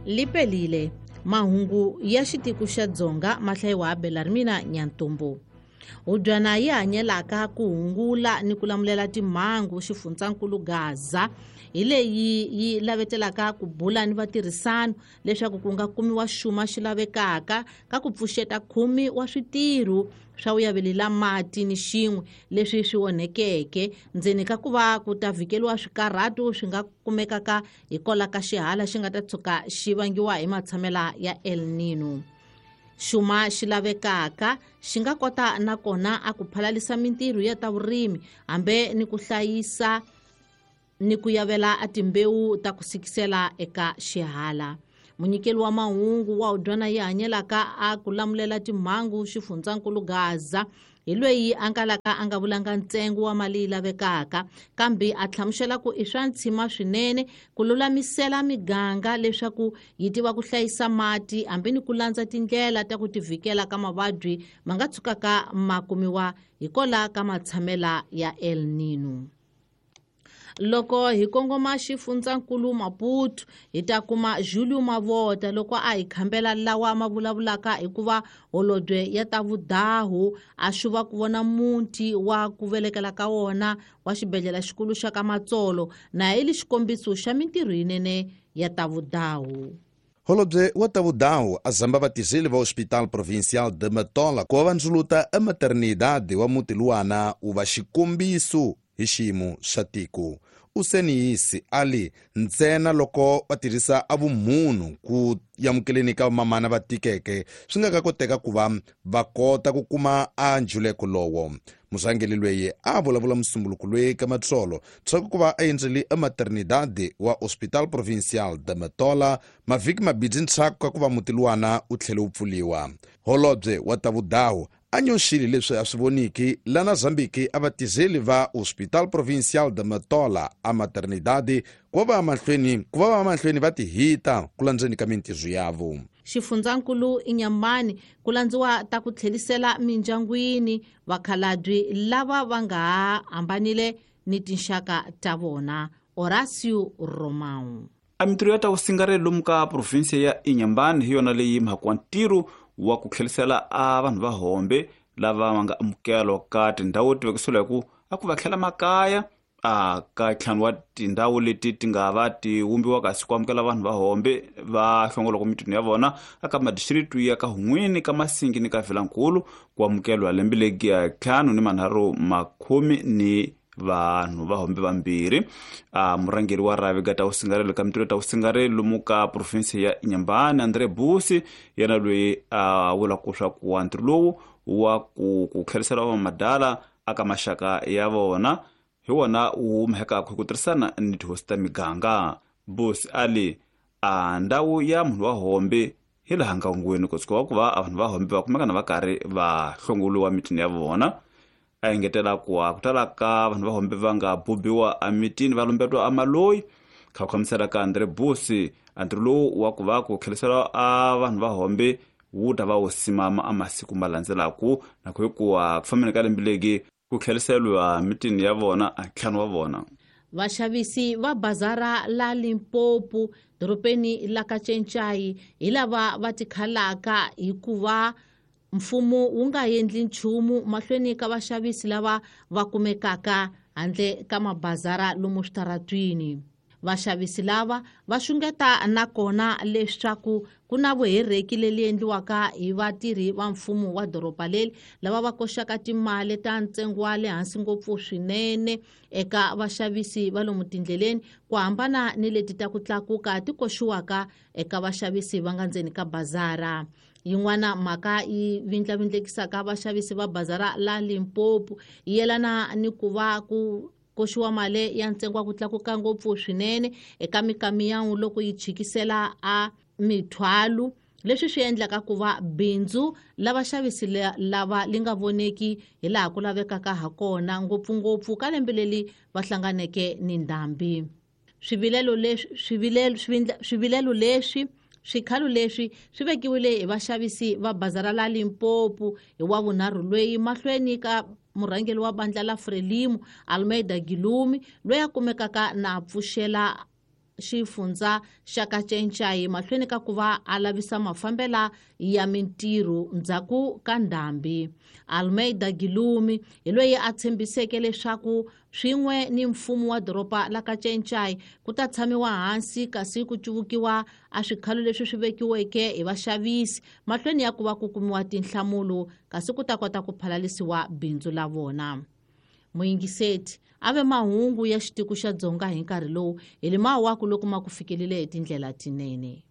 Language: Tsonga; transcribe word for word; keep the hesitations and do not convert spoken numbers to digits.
Lipelile mahungu ya xitiko xa Dzonga ma hlayiwa Belarmina Nyantumbu. Hubyana yi hanyelaka ku hungula ni ku lamulela timhangu xifundzankulu Gaza hi leyi yi lavetelaka ku bula ni vatirhisano leswaku ku nga kumiwa xuma xi lavekaka ka ku pfuxeta khume wa switirho swa vuyavelela mati ni xin'we leswi swi onhekeke ndzeni ka ku va ku ta vhikeliwa swikarhato swi nga kumekaka hikwalaho ka xihala xi nga ta tshuka xi vangiwa hi matshamela ya El Nino. Xuma xi lavekaka xi nga kota nakona a ku phalalisa mintirho ya ta vurimi hambe ni ku hlayisa ni ku yavela a timbewu ta ku sikisela eka xihala. Munyikeli wa mahungu wa hubyana yi hanyelaka a ku lamulela timhangu xifundzankulu Gaza hi loyi a ngalaka a nga vulanga ntsengo wa mali yi lavekaka kambe a hlamusela ku i swa ntshima swinene ku lulamisela miganga leswaku yi tiva ku hlayisa mati hambi ni ku landza tindlela ta ku tivikela ka mavabyi ma nga tshukaka ma kumiwa hikwalaho ka matshamela ya El Nino. Loko hi kongoma xifundzankulu Maputo hi ta kuma Julio Mavota loko a hi khambela lawa ma vulavulaka hikuva holobye ya ta vudahu a xuva ku vona muti wa ku velekela ka wona wa xibedhlele xikulu xa ka Matsolo na hi li xikombiso xa mintirho yinene ya ta vudahu. Holobye wa ta vudahu a zamba vatirheli va Hospital Provincial de Matola ku va va ndzuluta a maternidade wa muti luwana wu va xikombiso hi xiyimo xa tiko. Useniyisi ali ntsena loko va tirhisa a vumunhu ku amukeleni ka vamamana va tikeke swi nga ka koteka ku va va kota ku kuma a njuleko lowo. Murhangeri loyi a vulavula musumbuluko loyi ka Matsolo ndzhaku ku va a endzele a maternidade wa Hospital Provincial de Matola mavhiki mabirhi ndzhaku ka ku va muti luwana wu tlhele wu pfuliwa. Holobye wa ta vudahu a nyoxile leswi a swi voniki lana Zambiki a vatirheli va Hospital Provincial de Matola a maternidade ku va va mahlweni ku va va mahlweni va tihita ku landzeni ka mintirho yavo. Xifundzankulu Inyamani ku landziwa ta ku tlhelisela mindyangwini vakhalabye lava va nga hambanile ni tinxaka ta vona. Horacio Romão. A mintirho ya ta vusingareli lomu ka provinsia ya Inyambani hi yona leyi mhaka wa ntirho wa ku tlhelisela a vanhu va hombe lava va nga amukelwa ka tindhawu ti vekisiwa hi ku a ku va tlhela makaya a ka ntlhanu wa tindhawu leti ti nga va ti vumbiwa kasi ku amukela vanhu va hombe va hlongolaka mitini ya vona aka madistricts ya ka Hun'wini ka Masingi ni ka Vilankulu ku amukelwa lembe legi ya ntlhanu ni manharhu makhume ni vanhu va hombe vambirhi. A murhangeri wa rhavi ka ta vusingareli ka mintirho ta vusingareli lomu ka province ya Inyambani Andre Busi yena loyi a vulaka swa ku ntirho lowu wa ku ku tlherisela vamadala aka maxaka ya vona hi wona wu humekaka hi ku tirhisana ni tihosi ta miganga. Busi ali a ndhawu ya munhu wa hombe hi laha ngangweni ku tshuka ku va vanhu va hombe va kumeka na va karhi va hlongoliwa mitini ya vona. A engetela ku ku tala ka vanhu va hombe va nga bubiwa emitini va lumbetiwa amaloyi. Kha ku khamisela ka Andre Busi ntirho lowu wa ku va ku tlherisela a vanhu va hombe wu ta va wu simama a masiku ma landzelaku na ku hikuva ku fambeni ka lembe legi ku tlheriseriwa mitini ya vona a ntlhanu wa vona. Vaxavisi va bazara la Limpopo dorobeni la ka Tšentšayi hi lava va tikhalaka hikuva mfumo wu nga endli nchumu mahlweni ka vaxavisi lava va kumekaka handle ka mabazara lomu switaratwini. Vaxavisi lava va xungeta nakona leswaku ku na vuhereki leli endliwaka hi vatirhi va mfumo wa doroba leri lava va koxaka timali ta ntsengo wa le hansi ngopfu swinene eka vaxavisi va lomu tindleleni ku hambana ni leti ta ku tlakuka ti koxiwaka eka vaxavisi va nga ndzeni ka bazara. Yin'wana mhaka yi vindlavindlekisaka vaxavisi va bazara la Limpopo yi yelana ni ku va ku koxiwa mali ya ntsengo wa ku tlakuka ngopfu swinene eka mikamiyangu loko yi chikisela a mithwalo leswi swi endlaka ku va bindzu la vaxavisi lava li nga voneki hi laha ku lavekaka ha kona ngopfungopfu ka lembe leri va hlanganeke ni ndhambi. Swivilelo leswi swivilelo swivilelo leswi swikhalo leswi swi vekiwile hi vaxavisi va bazara la Limpopo hi wa vunharhu loyi mahlweni ka murhangeri wa bandla la Frelimo Almeida Gilumi loyi a kumekaka na pfuxela xifundza xa Kacencai mahlweni ka ku va a lavisa mafambela ya mintirho ndzhaku ka ndhambi. Almeida Gilumi hi loyi a tshembiseke leswaku swin'we ni mfumo wa doroba la Kacencai ku ta tshamiwa hansi kasi ku cuvukiwa a swikhalo leswi swi vekiweke hi vaxavisi mahlweni ya ku va ku kumiwa tinhlamulo kasi ku ta kota ku phalalisiwa bindzu la vona. Muyingiseti a ve mahungu ya xitiko xa Dzonga hi nkarhi lowu hi limawaku loko ma ku fikelele hi tindlela tinene.